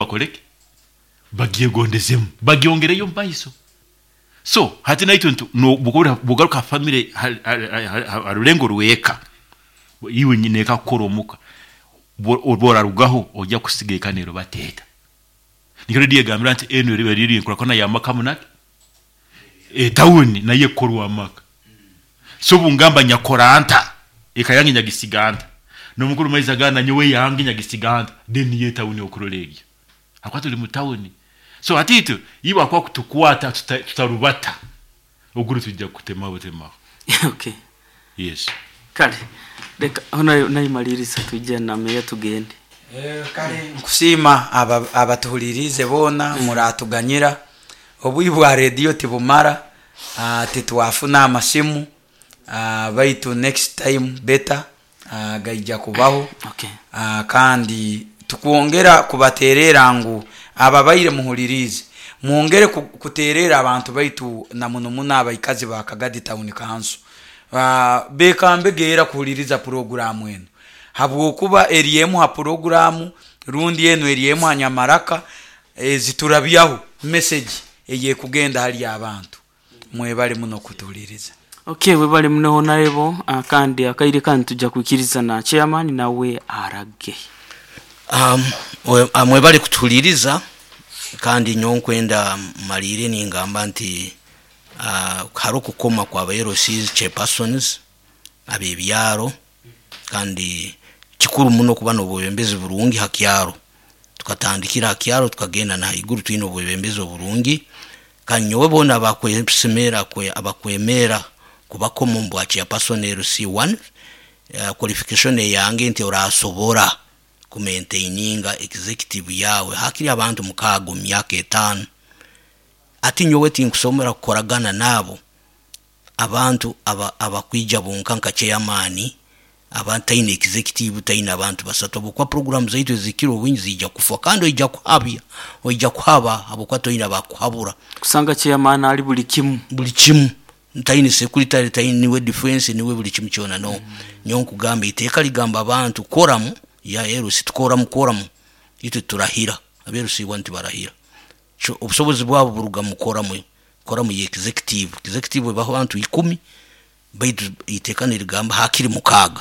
Bakoleki bagyegondezemu, bagyongereyo omu maiso. So hati naitwe bwogaruka ha family, ha rulengo rw'eka, iwe nyineeka kukora omuka, obworarugaho ojya kusiga eka nerubateeta. Nikyo rediyo egambira nti enu eriba riri enkurakurana y'amaka munaki etawuni nayo ekukorwa amaka. So obungamba nyakora nta, eka yange nyagisiga nta, n'omukuru maizi agamba nanyowe yange nyagisiga nta, then niyo etawuni okurora egyo, habwokuba tuli mu tawuni. So hati itwe iwe akuba kutukwata tutarubata, oguru tujja kutemaho butemaho. Okay. Yes. Kale reka honayo nayimaliriza twije na meya tugende. Kale nkusiima abatuhuliriize boona, muratuganyira obwiire bwa rediyo tibumara, titwafuna amasimu, baitu next time better gaija kubaho. Kandi tukwongera kubatererra ngu ababaire muhuliriize mwongere kutererra abantu baitu na muno muno abaikazi ba Kagadi Town Council, bekambege era kuhuliriza puroguramu enu habwokuba eri emu ha puroguramu rundi enu eri emu ha nyamaraka eziturabyaho message eyekugenda hali abantu. Mwebale muno kutuhuliriza. Ok, webale muno Honarebo, kandi akaire kanu tujja kwikiriza na chairman nawe arage. Mwebale kutuhuliriza, kandi nyowe nkwenda mmalire ningamba nti haroho okukoma kwa ba LCs, chairpersons ab'ebyaro, kandi kikuru muno kuba n'obwebembezi burungi ha kyaro. Tukatandikira ha kyaro tukagenda na haiguru twine obwebembezi oburungi, kandi nyowe boona abakwesemera abakwemera kubakoma omu bwa chairperson LC1, qualification eyange nti orasobora kumaintaininga executive yawe hakiri abantu 6 omu myaka 5. Ati nyowe tinkusobora kukoragana naabo abantu abakwija bonka nka chairman, abataine executive, taine abantu 3, habwokuba program zaitu ezikira obwingi ziija kufa, kandi oija kuhabya, oija kuhaba habwokuba toine abakuhabura. Kusanga chairman ali buli kimu. Buli kimu, taine secretary, taine niwe defense, niwe buli kimu kyona. No nyowe nkugamba iteeka ligamba abantu quorum ya LC, tukoramu quorum, itwe turahira, aba LC1 tibarahira. Obusobozi bwabo buruga mu quorum, quorum ya executive. Executive ebaho abantu 10, baitu iteeka nirigamba hakiri 6.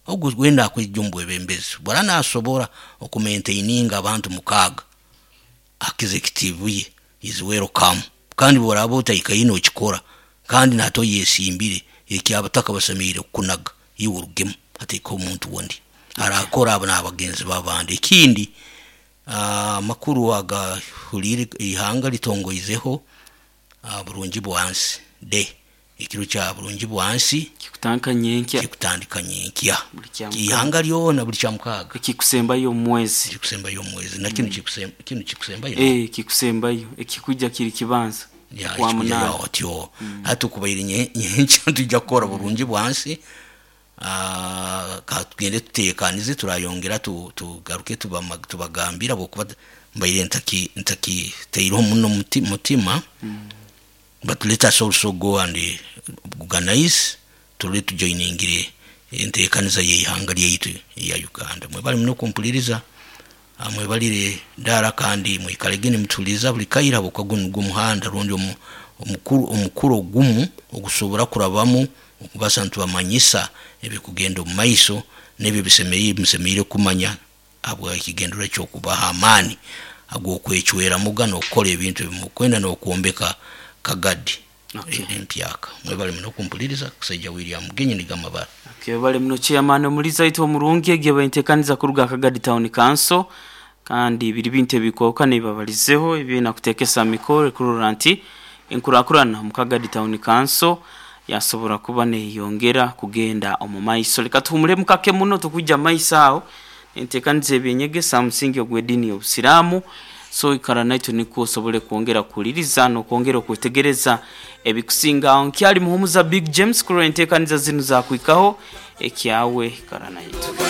Ogu wena akwija omu bwebembezi bwara nasobora okumaintaininga abantu 6 executive ye is welcome. Kandi bworaba otaikaine okikora, kandi nate oyesimbire, ekyabataka basemereire kukunaga iwe orugemu hatekeho omuntu ondi arakora abo n'abagenzi b'abandi. Ekindi, amakuru agahuriire ihanga litongoizeho Burungi Bwansi Day, ekiro kya Burungi Bwansi. Kikutandika nyenkya. Kikutandika nyenkya. Buli kya mukaaga. Ihanga lyona buli kya mukaaga. Ekikusembayo omu mwezi. Ekikusembayo omu mwezi. Na kinu kinu kikusembayo? Ee, kikusembayo. Ekikwija kiri kibanza. Ya, Kwa ekikwija munaana. otyo. Hati okubaire nyenkya nitwija kukora Burungi Bwansi. Ka tugende tuteekanize, turayongera tugaruke tubagambire habwokuba mbaire ntakitaireho muno mutima, but let us also go and organize turole tujoiningire enteekaniza y'eihanga lyaitu eya Uganda. Mwebale muno kumpuliriza, mwebalire dara kandi mwikalege nimutuhuliriza buli kaire habwokuba gunu nugwo omuhanda rundi omukura ogumu ogusobora kurabamu okubasa nitubamanyisa ebikugenda omu maiso n'ebyo ebisemeriire musemeriire kumanya habw'ekigendererwa ky'okubaha amaani ag'okwecweramuga n'okukora ebintu ebi mukwenda n'okwombeka Kagadi empyaka. Mwebale muno kumpuliriza, Kusaija William Mugenyi nigo amabara. Okay, webale muno Chairman omulizi waitu omurungi, egi eba entekaniza kuruga Kagadi Town Council, kandi biri bintu ebikwahukana ebibabalizeho ebyena kutekesa mikoro kurora nti enkurakurana omu Kagadi Town Council yasobora kuba neyongera kugenda omu maiso. Leka tuhumuremu kake muno tukwija maiso aho entekaniza ebyenyegesa ha musingi ogw'ediini y'Obusiraamu. So ikara naitwe nikwo osobole kwongera kuhuliriza n'okwongera okwetegereza ebikusinga aho. Nkyali Muhumuza Big James kurora entekaniza zinu zakuhikaho ekyawe ikara naitwe.